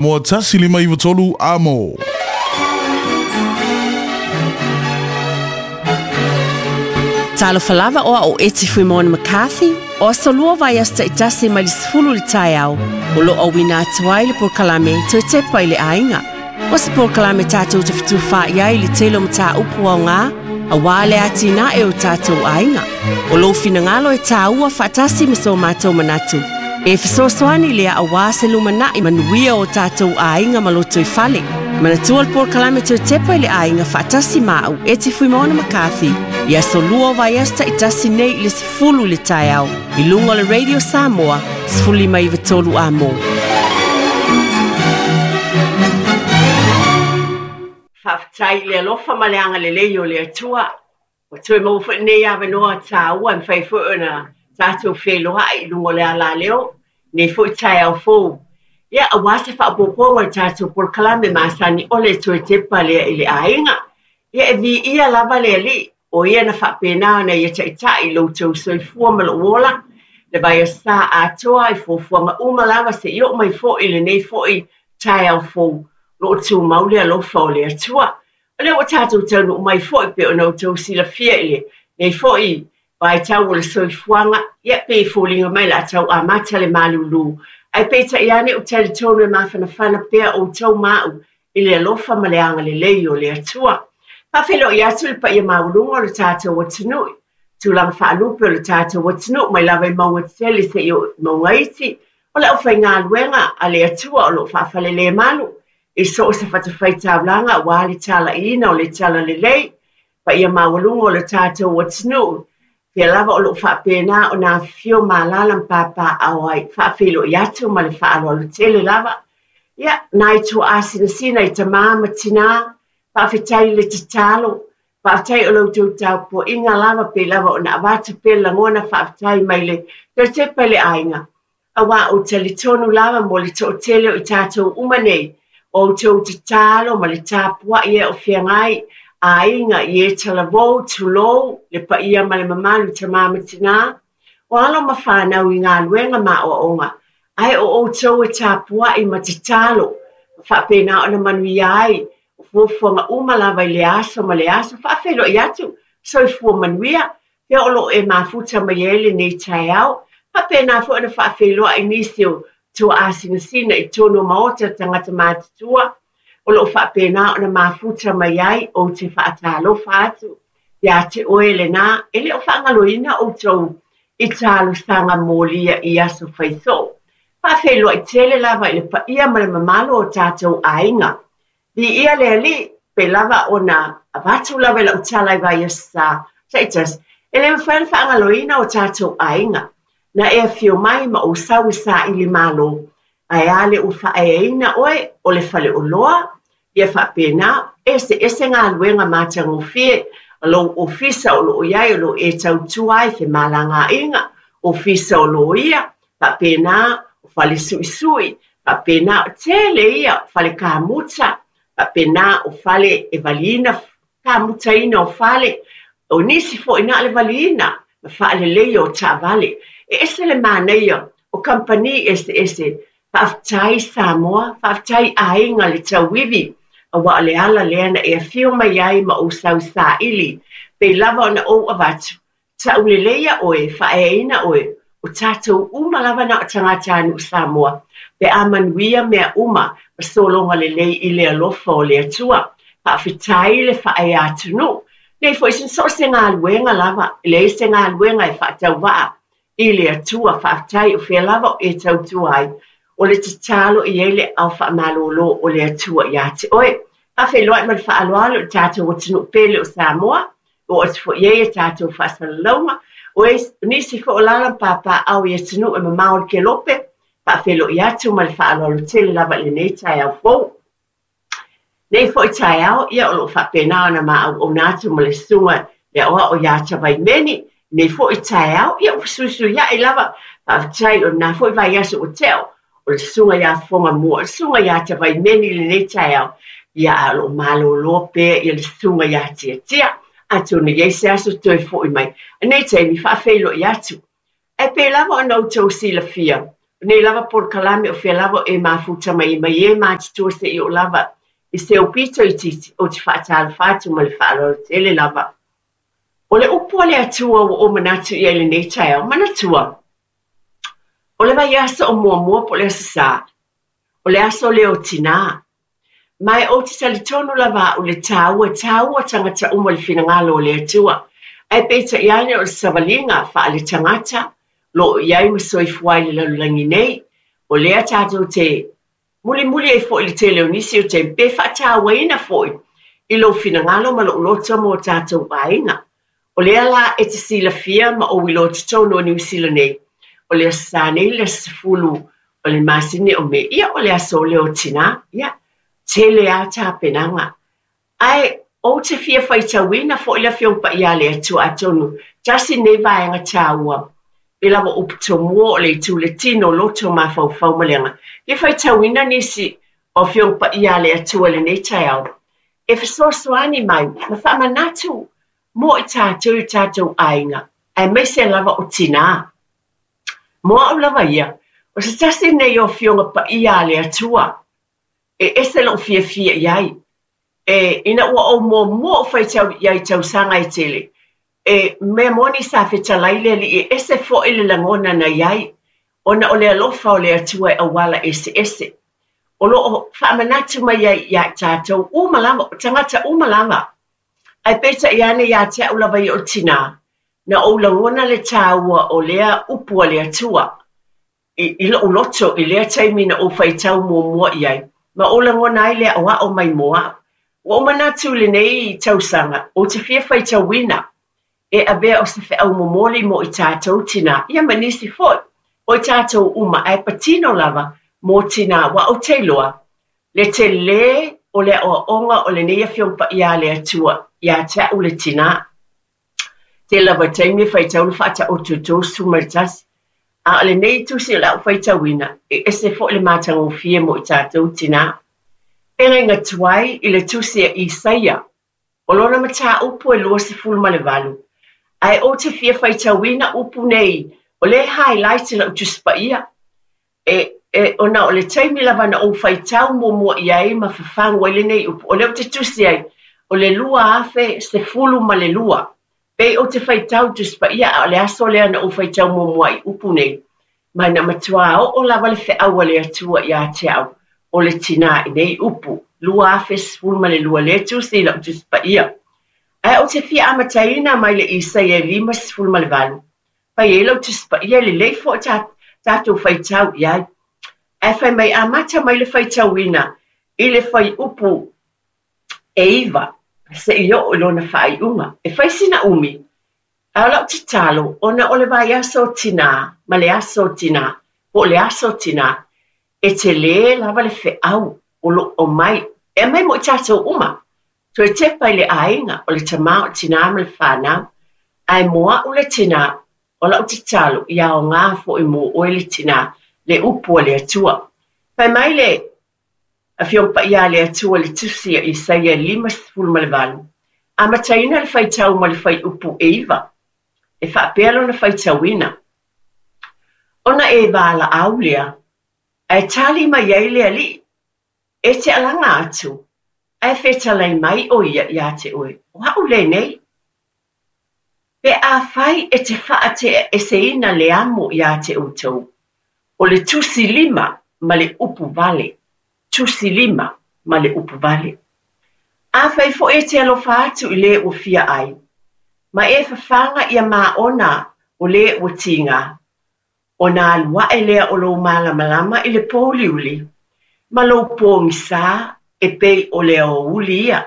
Moa 1593 Amo. Talofa lava o au Eti Fuimona McCarthy, o aso lua vaiaso taitasi mai le 10 i le taeao, o lo o auina atu ai le polokalame Toe Tepa i le Aiga. O se polokalame tatou te fetufaai ai i le tele o mataupu aoga, aua le atinae o tatou aiga. O lou finagalo e tāua faatasi ma so matou manatu, e fesoasoani lea aua se lumanai manuia o tatou aiga ma lotoifale. Manatua le polokalame Toe Tepa i le Aiga faatasi ma au Eti Fuimaono McCarthy i aso lua o vaiaso taitasi nei i le 10 i le taeao i luga o le Radio Samoa 1593 Amo. Faafetai i le alofa ma le agalelei o le Atua. Ua toe maua foi lenei avanoa tāua e mafai foi ona tatou feiloai i luga o le alaleo i lenei foi taeao fou. Ia, aua se faaopoopoga o le tatou polokalame masani ʻole e toe tepa lea i le aiga. Ia, e viia lava le Alii, o ia na faapena ona ia taitai i lo outou soifua ma lou ola, le vaiaso sa atoa i fuafuaga uma lava seia oo mai foi i lenei foi taeao fou, o lo o tumau le alofa o le Atua. O lea ua tatou taunuu mai foi pei ona outou silafia i lenei foi vaitau o le soifuaga, ia pei e foliga mai o le a tau amata le malulu. Ae peitai ane ou te talitonu e mafanafana pea outou ma au i le alofa ma le agalelei o le Atua. Faafeiloai atu i le paia maualuga o le tatou atunuu, tulaga faalupe o le tatou atunuu mai lava i mauga tetele seia oo i mauga iti, o le aufaigaluega a le Atua o lo o faafalelemalu i so o se fatafaitaulaga aua le talaiina o le talalelei, paia maualuga o le tatou atunuu, fea lava o lo o faapena ona afifio ma alaala ma papaaao ai, faafeiloai atu ma le faaaloalo tele lava. Ia, nai tuaa sinasina i tamā ma tinā, faafetai i le tatalo, faafetai o la outou tapuaiga lava pei lava ona avatu pea le lagona faafetai mai le toe tepa i le aiga, aua ou te talitonu lava mo le toatele o i tatou uma nei, o outou tatalo ma le tapuai e o feagai, aiga i e talavou, tulou, le paia ma le mamalu tamā ma tinā, o alo ma fanau i galuega ma aoaoga, ae o outou e tapuai ma tatalo, ma faapena ona manuia ai, o fuafuaga uma lava i le aso ma le aso, faafeiloai atu, soifua manuia, Fea o lo o e mafuta mai ai lenei taeao? Faapena foi ona faafeiloai nisi o tuaasinasina i totonu o maota tagata matutua o lo o faapena ona mafuta mai ai. Ou te faatalofa atu ia te oe lena, e le o faagaloina outou i talosaga molia i aso faisoo. Faafeiloai tele lava i le paia ma le mamalu o tatou aiga. Viia le Alii, pei lava ona avatu lava i lau tala i vaiaso sa taitasi, e le mafai ona faagaloina o tatou aiga. Na e afio mai ma ou sau e saili malo, ae a le ua faaeaina oe o le faleoloa? Ia faapena, eseese galuega matagofie a lou ofisa o lo o i ai o lo o e tautua ai femalagaaiga, ofisa o loia, faapena o fale suisui, faapena o tele ia o fale kamuta, faapena o fale e valiina, kamutaina o fale, o nisi foi na o le valiina ma faaleleia o taavale. E ese le manaia o kamupani eseese. Faafetai Samoa, faafetai aiga le tauivi, aua o le ala lea na e afio mai ai ma ou sau saili, pei lava ona ou avatu, Tauleleia oe, faaeaina oe, o tatou uma lava na o tagatanuu Samoa, pe a manuia mea uma ma sologa lelei i le alofa o le Atua. Faafetai le faaea atunuu. Nei foi so o se galuega lava, e leai se galuega e faatauvaa i le Atua. Faafetai o fea lava o e tautua ai, o le tatalo e i ai le aao faamalolo o le Atua ia te oe. Faafeiloai ma le faaaloalo i le tatou atunuu pele o Samoa, Oo atu foi i ai a tatou faasalalauga, o nisi foi o lala ma papaaao i atunuu e mamao i le kelope, faafeiloai atu ma le faaaloalo tele lava i lenei taeao fou. Nei foi taeao, ia o lo o faapena ona ma auauna atu ma le susuga le aoao ia Tavaimeni, nei foi taeao, ia ua fesuisuiai lava, faafetai o lena foi vaiaso ua tea, o le susuga ia Fofoga Mua, o le susuga ia Tavaimeni i lenei taeao, ia a o lo o malolo pea ia le susuga ia Tiatia, atonu e i ai se aso toe foi mai, i lenei taimi faafeiloai atu. Ae pei lava ona outou silafia, Nei lava polokalame o fea lava o e mafuta mai ai mai e matutua seia oo lava i se aupito itiiti, ou te faatalofa atu ma le faaaloalo tele lava. O le upu a le Atua ua ou manatu i ai i lenei taeao, manatua, o le vaiaso o muamua po o le Aso Sa, o le aso lea o tinā. Ma e ou te talitonu lava au i le taua, e taua tagata uma i le finagalo o le Atua. Ae peitai ane o le savaliga faale-tagata o lo o i ai ma soifua ai i le lalolagi nei, o lea tatou te mulimuli ai foi i le tele o nisi o taimi, pe faatauaina foi i lou finagalo ma lou loto ma o tatou aiga. O lea la e te silafia ma ou iloa totonu o Niu Sila nei, o le Aso Sa nei le aso 10 o le masina o Me, ia o le aso lea o tinā, ia, tele lava tapenaga. Ae ou te fia faitauina foi le Afioga Paia a le Atua atonu tasi lenei vaega taua e lava upu tomua o le itu le tino, loto, mafaufau ma le aga. Fia faitauina nisi o Afioga Paia a le Atua i lenei taeao e fesoasoani mai ma faamanatu mo i tatou i o tatou aiga aemaise lava o tinā. Mo au lava ia, o se tasi lenei o Afioga Paia a le Atua e ese lou fiafia i ai. E, ina ua ou muamua ou faitau i ai i tausaga e tele, e mea moni sa fetalai le Alii e ese foi le lagona na i ai, ona o le alofa o le Atua e auala eseese. O lo o faamanatu mai ai ia i tatou uma lava, o tagata uma lava. Ae peitai ane ia te au lava ia o le tinā, na ou lagona le taua o lea upu a le Atua i lou loto i lea taimi na ou faitau muamua i ai, ma ou lagona ai le aʻoaʻo mai mo aʻu. Ua ou manatu i lenei tausaga, ou te fia faitauina e avea o se feau momoli mo i tatou tinā, ia ma nisi foi o i tatou uma, ae patino lava mo tinā, aua ou te iloa le telē o le aoaoga o lenei Afioga Paia a le Atua ia te au le tinā. Tele lava taimi e faitau le faataoto e 31, a o lenei tusi o le a ou faitauina, e ese foi le matagofie mo i tatou tinā. Feagaiga tuai i le tusi a Isaia, o lona mataupu e 28, ae ou te fia faitauina upu nei, o lea e highlight i lau Tusi Paia, E, e, ona o le taimi lava na ou faitau muamua i ai ma fafagu ai lenei upu, o lea ou te tusi ai, o le 2012. Pei ou te faitau i Tusi Paia, a o le aso lea na ou faitau muamua ai i upu nei, ma na matuā oo lava le feau a le Atua ia te au, o le tinā i nei upu, 2012, lea e tusi i lau Tusi Paia. Ae ou te fia amataina mai le Isaia 58, Fai ai lau Tusi Paia e lelei foi ta tatou faitau i ai. Ae fai mai amata mai le faitauina i le fuaiupu e 9 seia oo i lona faaiuga. E fai sina umi, a o lau tatalo, ona o le vaiaso o tinā ma le aso o tinā, po o le aso o tinā, e tele lava le feau o lo o aumai, e aumai mo i tatou uma. Toe tepa i le aiga, o le tama, o le tinā ma le fanau. Ae mo aʻu le tinā, o lau tatalo, ia aoga foi mo oe le tinā, le upu a le Atua. Fai mai le Afioga Paia a le Atua i le Tusi a Isaia 58, amataina le faitau ma le fuaiupu e 9, e faapea lona faitauina, Ona e valaau lea, ae tali mai ai le Alii, E te alaga atu, ae fetalai mai ʻo ia iā te ʻoe, O aʻu lenei. Pe afai e te faateʻaeseina le amo iā te ʻoutou, o le tusi lima ma le upu vale, tusi lima ma le upu vale. Afai foi e te alofa atu i le ua fia ʻai, ma e fafaga ia māʻona o le ua tīgā, Ona alu aʻe lea o lou malamalama i le pōuliuli, ma lou pōgisā e pei o le aoauli ia.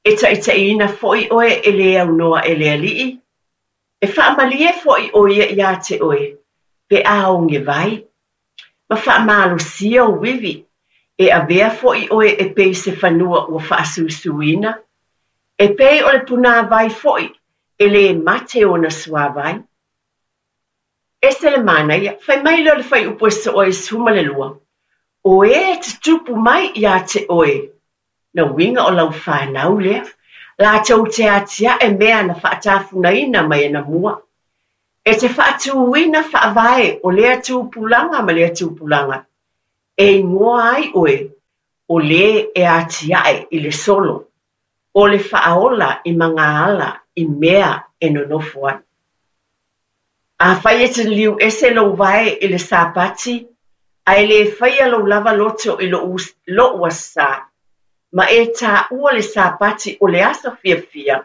E taʻitaʻiina foi ʻoe e le aunoa e le Alii, e faamalie foi ʻo ia iā te ʻoe, pe a oge wai, ma faamalosia ou iwi, e avea foi ʻoe e pei se fanua ua faasuisuina, e pei o le punāwai foi e lē mate ona suāwai. Ese le manaia, fai mai lea o le fuaiupu e soo ai 12, O ē e tutupu mai iā te ʻoe, na uiga o lau fanau lea, lātou te atiaʻe mea na faatafunaina mai anamua. E te faatuina faavae o lea tupulaga ma lea tupulaga, e igoa ai oe o le e atiae i le solo, o le faaola i magaala i mea e nonofo ai. Afai e te liliu ese lou vae i le Sapati, ae le faia lou lava loto i lou Aso Sa, ma e taua le Sapati o le aso fiafia,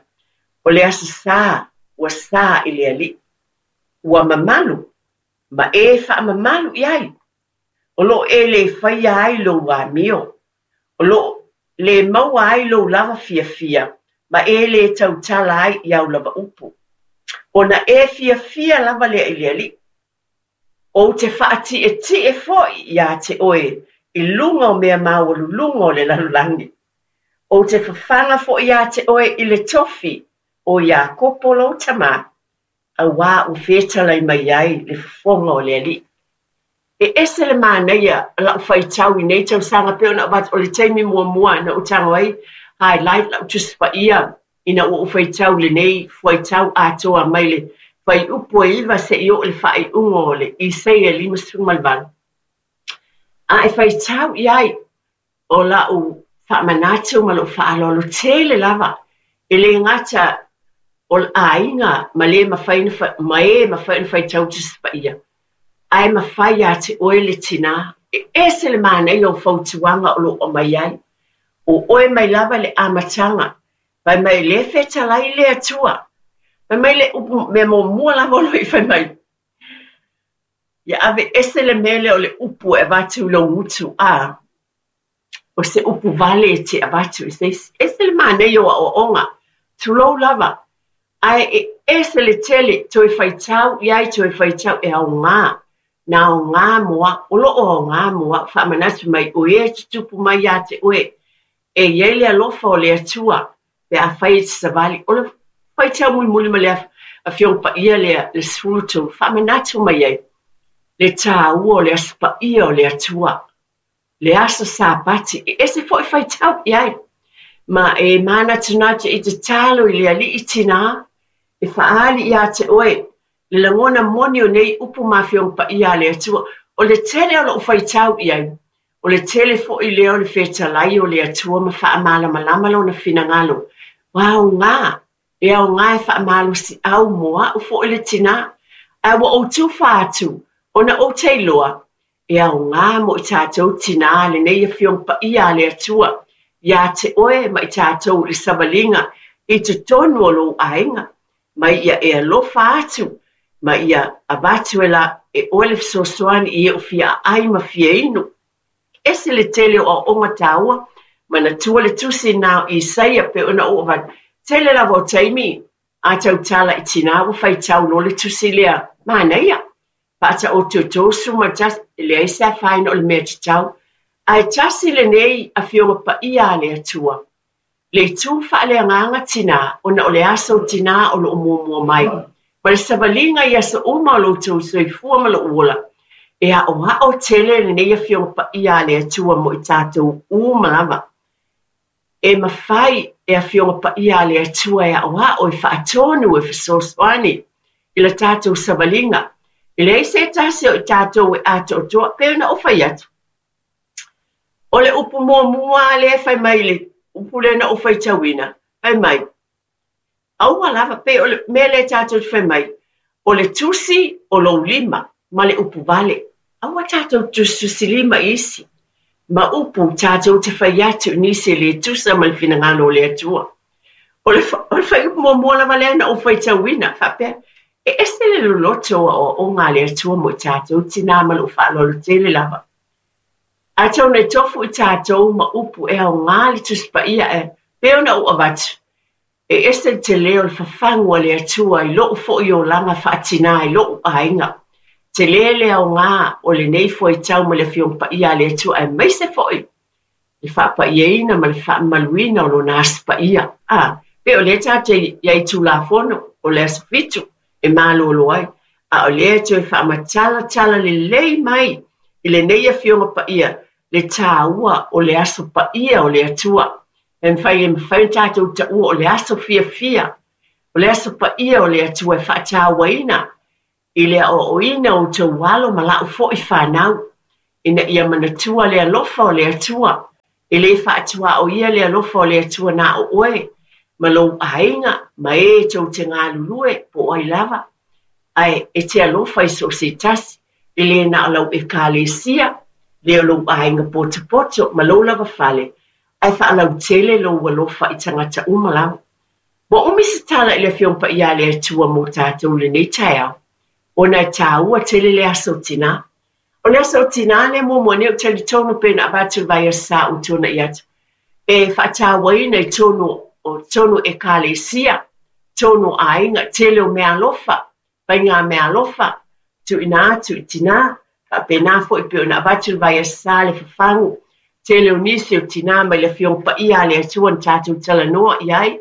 o le Aso Sa ua sa i le Alii, ua mamalu, ma e faamamalu i ai, o lo o e le faia ai lou amio, o lo o le maua ai lou lava fiafia, ma e le tautala ai i au lava upu. Ona e fiafia lava lea i le Alii. Ou te faatietie foi iā te oe i luga o mea maualuluga o le lalolagi. Ou te fafaga foi iā te oe i le tofi o Iakopo lou tama, auā ua fetalai mai ai le fofoga o le Alii. E ese le manaia lau faitau i nei tausaga pei ona avatu o le taimi muamua na ou tago ai highlight lau Tusi Paia ina ua ou faitau i lenei fuaitau atoa mai le fuaiupu e 9 seia oo i le faaiuga o le Isaia 58. A e faitau i ai, o lau faamanatu ma lou faaaloalo tele lava, e le gata o aiga ma le mafai ma e mafai ona faitau Tusi Paia, ae mafai ia te oe le tinā. E ese le manaia o fautuaga o lo o aumai ai. O oe mai lava i le amataga, fai mai lea e fetalai le Atua. Fai mai le upu mea muamua lava o lo o fai mai, ia aveese le mea lea o le upu e avatu i lou gutu, a o se upu vale e te avatu i se isi. Ese le manaia o aoaoga, tulou lava, ae e ese le tele toe faitau i ai, toe faitau e aoga, na aoga mo au, o lo o aoga mo au, faamanatu mai o e tutupu mai ia te oe, e i ai le alofa o le Atua pe afai e te savali. O le faitau mulimuli ma le Afioga Paia lea, le 13, faamanatu mai ai le taua o le Aso Paia o le Atua, le aso Sapati, e ese foi faitau i ai. Ma e manatunatu i tatalo i le Alii tinā, e faaali ia te oe le lagona moni o nei upu ma Afioga Paia a le Atua. O le tele o lou faitau i ai, o le tele foi lea o le fetalai o le Atua ma faamalamalama lona finagalo. Ua aoga, e aoga e faamalosiau mo au foi le tinā. Ae ua ou tufa atu, ona ou te iloa, e aoga mo i tatou tinā lenei Afioga Paia a le Atua ia te oe ma i tatou i le savaliga i totonu o lou aiga, ma ia e alofa atu, ma ia avatu e la e oe le fesoasoani i e o fia aai ma fia inu. Ese le tele o aoaoga taua, manatua le tusi na o Isaia pei ona ou avatu. Tele lava o taimi a tautala i tinā ua faitau loa le tusi lea, manaia, faataototosu ma tasi, e leai se afaina o le mea tatau. Ae tasi lenei Afioga Paia a le Atua, le itu faaleagaga tinā, ona o le aso tinā o lo o muamua mai, ma le savaliga i aso uma o lo outou soifua ma lou ola, e aoao tele lenei Afioga Paia a le Atua mo i tatou uma lava. E mafai e Afioga Paia a le Atua e aoao, e faatonu, e fesoasoani i la tatou savaliga. E leai se tasi o i tatou e atoatoa, pei ona ou fai atu. O le upu muamua lea e fai mai le upu lea na ou faitauina, fai mai, aua lava, pei o le mea lea tatou te fai mai, o le tusi o lou lima ma le upu vale. Aua tatou tusitusilima i isi, ma upu tatou te fai atu i nisi e le tusa ma le finagalo o le Atua. O le, o le fuaiupu muamua lava lea na ou faitauina, faapea, e ese le loloto o aoaoga a le Atua mo i tatou tinā ma lou faaaloalo tele lava. Atonu e tofu i tatou ma upu e aoga le Tusi Paia e pei ona ou avatu, e ese le tele o le fafagu a le Atua i lou foi olaga faatinā i lou aiga. Tele le aoga o lenei fuaitau ma le Afioga Paia a le Atua aemaise foi le faapaiaina ma le faamamaluina o Lona Aso Paia. A, pei o lea tatou te i ai i Tulafono o le aso 7 e malolo ai, a o lea e toe faamatalatala lelei mai i lenei Afioga Paia le taua o le Aso Paia o le Atua. E mafai e mafai ona tatou taua o le aso fiafia, o le Aso Paia o le Atua e faatauaina. I le aoaoina o outou alo ma lau foi fanau, ina ia manatua le alofa o le Atua. E le faatuaoia le alofa o le Atua na o oe, ma lou aiga, ma e tou te galulue, po o ai lava. Ae e te alofa i so o se tasi, e le na o lau ekalesia, le o lou aiga potopoto ma lou lava fale, ae faalautele lou alofa i tagata uma lava. Ua umi se tala i le Afioga Paia a le Atua mo tatou i lenei taeao, ona e taua tele le aso o Tinā. O le aso o Tinā lea muamua nei ou te talitonu pei ona avatu i le vaiaso sa ua tuanai atu, e faatauaina i totonu o totonu Ekalesia, totonu o aiga, tele o meaalofa, faigameaalofa, tuuina atu i tinā, faapena foi pei ona avatu i le vaiaso sa le fafagu, tele o nisi o tinā mai le Afioga Paia a le Atua na tatou talanoa i ai,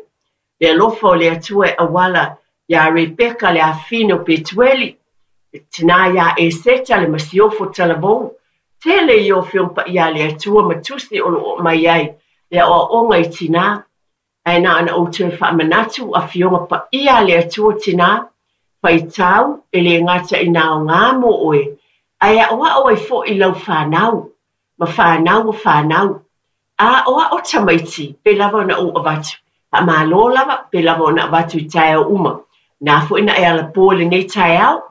le alofa o le Atua e auala iā Rebeka le afafine o Petueli, le tinā iā Eseta le masiofo talavou, tele ia o Afioga Paia a le Atua ma tusi o lo o aumai ai le aoaoga i tinā. Ae na ona ou toe faamanatu, Afioga Paia a le Atua tinā, faitau, e le gata i nā aoga mo oe, ae aoao ai foi i lau fanau, ma fanau o fanau. A aoao tamaiti, pei lava ona ou avatu, faamalo lava, pei lava ona avatu i taeao uma. Na foi na e alapo i lenei taeao,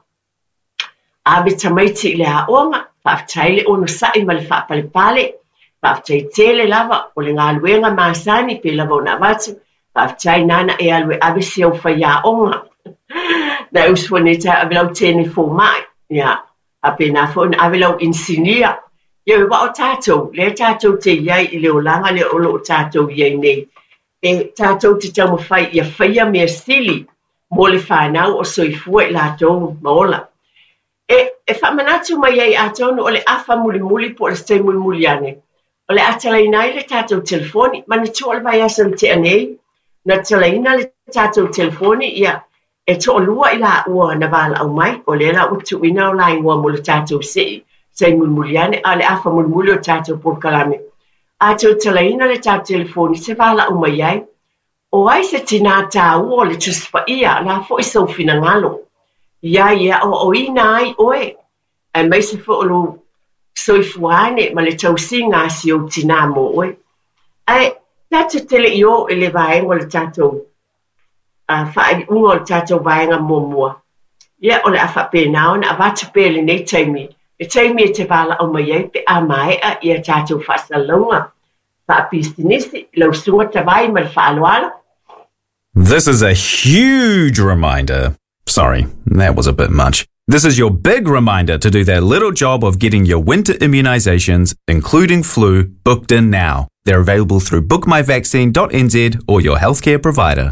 ave tamaiti i le aoga, faafetai le onosai ma le faapalepale, faafetai tele lava o le galuega masani pei lava ona avatu, faafetai nana e alu e ave si au faiaoga. Na e usu nei taeao ave lau teine fomai, ia, faapena foi ona ave lau inisinia. Ia aua o tatou, lea tatou te i ai i le olaga lea o lo o tatou i ai nei, e tatou te taumafai ia faia mea sili mo le fanau o soifua i latou ma ola. E, e faamanatu mai ai atonu o le afa mulimuli po o le se taimi mulimuli ane, o le a talaina ai le tatou telefoni. Manatua o le vaiaso na tea nei, na talaina le tatou telefoni, ia, e toalua i laua na valaau mai, o lea la ua tuuina o la igoa mo le tatou sei, taimi mulimuli ane, a o le afa mulimuli o le tatou polokalame. A toe talaina le tatou telefoni, se valaau mai ai. O ai se tinā taua o le Tusi Paia, o le a foi sou finagalo i ai e aoaoina ai oe, aemaise foi o lou soifua ane ma le tausiga a si ou tinā mo oe. Ae tatou te le i oo i le vaega o le tatou faaiuga o le tatou vaega muamua, ia o le a faapena ona avatu pea i lenei taimi, le taimi e te valaau mai ai pe a maea ia tatou faasalalauga faapisinisi, lau Susuga Tavai ma le faaaloalo. This is a huge reminder. Sorry, that was a bit much. This is your big reminder to do that little job of getting your winter immunizations, including flu, booked in now. They're available through bookmyvaccine.nz or your healthcare provider.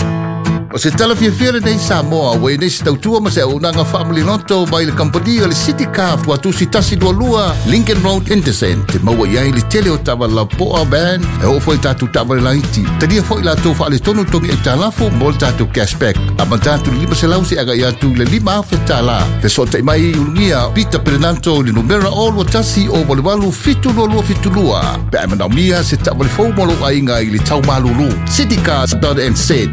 O se tala fiafia lenei Samoa ua i nei se tautua ma se auaunaga faamaliloto mai le kamupani o le City Car Tuatusi 122 Lincoln Road Henderson te maua i ai le tele o taavale lapoa van e oo foi i tatou taavale laiti. Talia foi latou faaletonu togi aitalafu mo le tatou cashback. Amata atu i le 500 seia agai atu i le $5,000. Fesootai mai i Ulugia Peter Perenanto i le numera 021 088 7272 pe a e manaomia se taavale fou mo lou aiga i le tau malulu. Citycars.nz.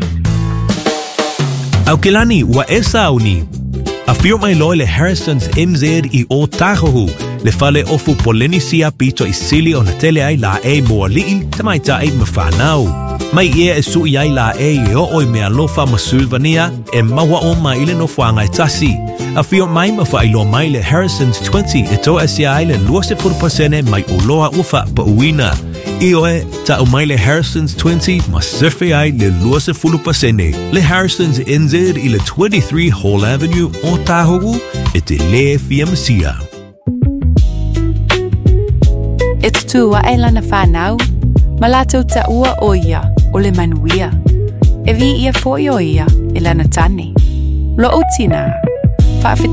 Aukilani, ua e sauni. Afio mai loa le Harrison's MZ i Ōtāhuhu, le fale ofu Polenisia pito i sili ona tele ai laʻei mo aliʻi, tamaitai ma whānau. Mai ia e suʻi ai laʻei e oo i meaalofa ma sulvania e maua uma i le nofoaga e tasi. Afio mai ma faailoa mai le Harrison's 20 e toasia ai le 20% mai oloa ua faapauina. Ioe, tau mai le Harrison's 20 ma sefe ai le 20%. Le Harrison's NZ i le 23 Hall Avenue, Ōtāhuhu, e te lē fia masia. E tutū aʻe lana whānau, ma lātou taua ʻo ia o le manuia. E viia foi ʻo ia e lana tane. Loʻu tinā, faafetai.